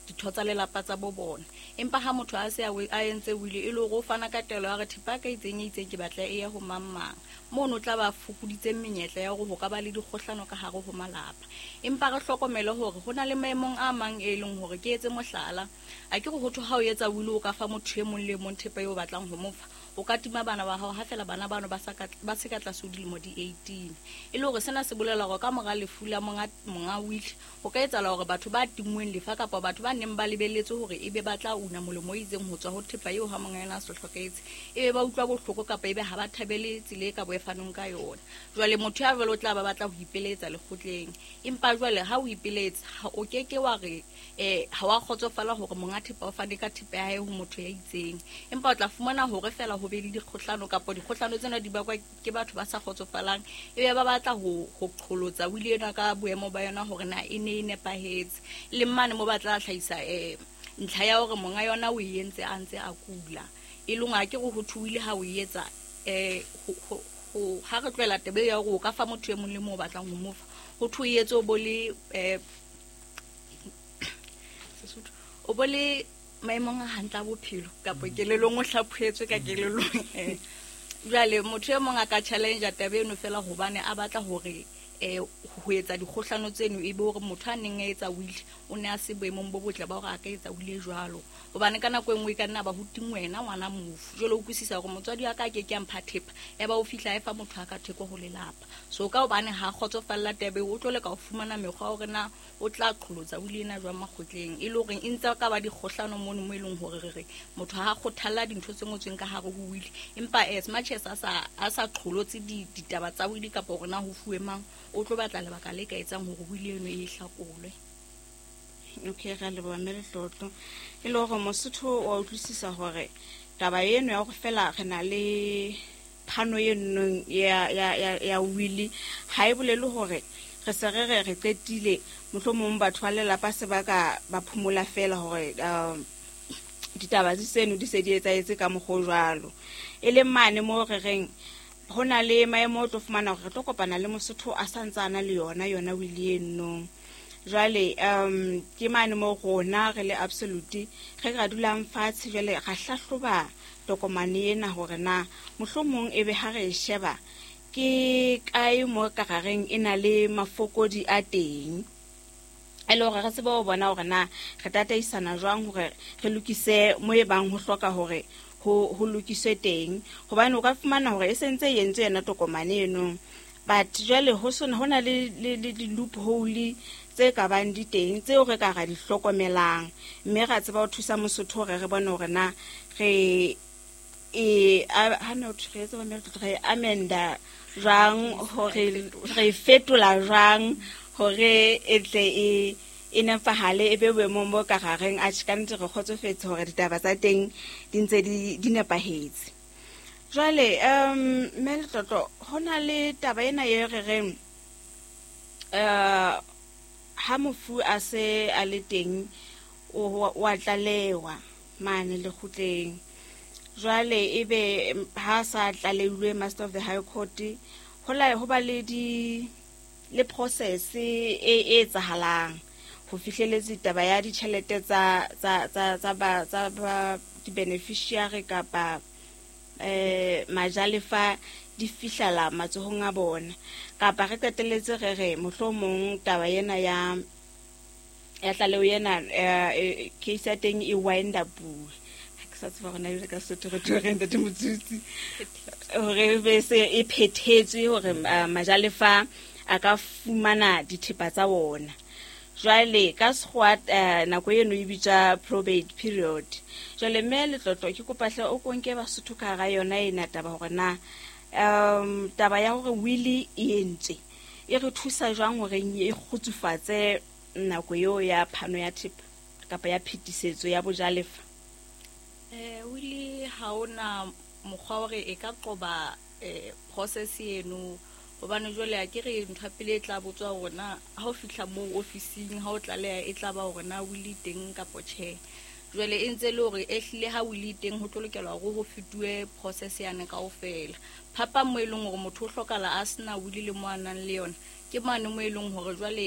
Ditho tsa lelapa tsa bo bona. Empa ha motho a se a entse wili, e le hore o fana ka taelo ya hore thepa ya ka e itseng e itseng ke batla e ye ho mang mang, mono o tla ba fokoditse menyetla ya hore ho ka ba le dikgohlano ka hare ho malapa. Empa re hlokomele hore ho na le maemong a mang e leng hore, ke etse mohlala, a ke re ho thwe ha o etsa wili o ka fa motho e mong le e mong thepa eo o batlang ho mo fa, o ka tima bana ba hao ha feela bana bano ba sa ka, ba se ka tlase ho dilemo di 18. E le hore sena se bolela hore ka mora lefu la monga, monga wili, ho ka etsahala hore batho ba tinngweng lefa kapa batho ba neng ba lebelletse hore ebe ba tla una molemo o itseng ho tswa ho thepa eo ha monga yona a se hlokahetse, ebe ba utlwa bohloko kapa ebe ha ba thabele tsela e ka bo e fanweng ka yona. Jwale motho ya jwalo o tla ba batla ho ipeletsa lekgotleng. Empa jwale ha o ipeletsa, ha o ke ke wa re ha wa kgotsofala hore monga thepa o fane ka thepa ya hae ho motho ya itseng. Empa o tla fumana hore feela ho be le dikgohlano, kapa dikgohlano tsena di bakwa ke batho ba sa kgotsofalang, ebe ba batla ho qholotsa wili ena ka boemo ba yona hore na e ne e nepahetse. Le mane mo ba tla hlahisa ntlha ya hore monga yona o e entse a ntse a kula. E leng ha ke re ho thwe wili ha o e etsa, ha re tlohela taba ya hore o ka fa motho e mong le mong o batlang ho mo fa, ho thwe o etse o bo le, Sesotho, o bo le maemong a hantle a bophelo kapa kelellong, o hlaphohetswe ka kelellong. Jwale motho e mong a ka challenge taba eno fela hobane a batla hore ho etsa dikgohlano tseno, e be hore motho a neng a etsa wili o ne a se boemong bo botle ba hore a ka etsa wili e jwalo. Hobane ka nako e nngwe e ka nna ba ho tingwe wena ngwana mofu, jwale o utlwisisa hore motswadi wa ka a ke ke a mpha thepa, ya ba o fihla e fa motho a ka theko ho lelapa. So ka hobane ha kgotsofalla taba eo, o tlo leka ho fumana mekgwa hore na o tla qholotsa wili ena jwang makgotleng, e le hore e ntse ka ba dikgohlano mono mo e leng hore re re motho ha kgothalla dintho tse ngotsweng ka hare ho wili, empa as much as a sa qholotse ditaba tsa wili kapa hore na ho fuwe mang, o tlo batla lebaka le ka etsang hore wili eno e hlakolwe. Okay, re a leboha mme Letlotlo. E le hore Mosotho wa utlwisisa hore taba eno ya hore fela re na le phano e nnong ya wili ha e bolele hore re se re re re qetile, mohlomong batho ba lelapa se ba ka ba phomola fela hore ditaba tseno di se di etsahetse ka mokgwa o jwalo. E leng mane mo re reng ho na le maemo o tlo fumana hore re tlo kopana le Mosotho a sa ntse a na le yona wili eno. Jwale ke mane mo rona re le Absolute re ka dulang fatshe, jwale ra hlahloba tokomane ena hore na mohlomong ebe ha re e sheba ke kae mo ka gareng e na le mafokodi a teng, e le hore re tsebe ho bona hore na re tataisana jwang hore re lokise mo e bang ho hloka hore ho lokiswe teng. Hobane o ka fumana hore e sentse e entswe yona tokomane eno, but jwale ho sona ho na le di-loophole tse ka bang di teng tseo re ka ra di hlokomelang, mme ra tseba ho thusa Mosotho hore re bone hore na re e ha no re etsa ba re amenda jwang, hore re fetola jwang hore e tle e nepahale, e be boemong bo ka gareng a ka nnete re kgotsofetse hore ditaba tsa teng di ntse di nepahetse. Jwale mme Letlotlo, ho na le taba ena e re reng ha mofu a se a le teng o a tlalewa mane lekgotleng. Jwale ebe ha sa tlalehilwe Master of the High Court, ho la ho ba le di le process e etsahalang ho fihleletse taba ya ditjhelete tsa ba di-beneficiary kapa majalefa di fihlela matsohong a bona, kapa re qetelletse re re mohlomong taba ena ya tlaleho ena, case ya teng e wind up. Ha ke sa tseba hore na ebile ka Sesotho re tlo reng, ntate Motsutsi, hore be se e phethetswe hore majalefa a ka fumana dithepa tsa ona. Jwale ka Sekgowa nako eno e bitswa probate period. Jwale mme Letlotlo, ke kopa hle o konke Basotho ka hara yona ena taba hore na taba ya hore wili e entswe e re thusa jwang hore e kgutsufatse nako eo ya phano ya thepa kapa ya phetisetso ya bojalefa. Wili ha ona mokgwa hore e ka qoba process eno, hobane jwale a ke re ntho ya pele e tla botswa hore na ha o fihla moo ofising ha o tlaleha e tla ba hore na wili teng kapa tjhe. Jwale e ntse le hore e hlile ha wili teng ho tlo lokela hore ho fetuwe process yane kaofela. Phapang mo e leng hore motho o hlokahala a sena wili le mo a nang le yona ke mane mo e leng hore jwale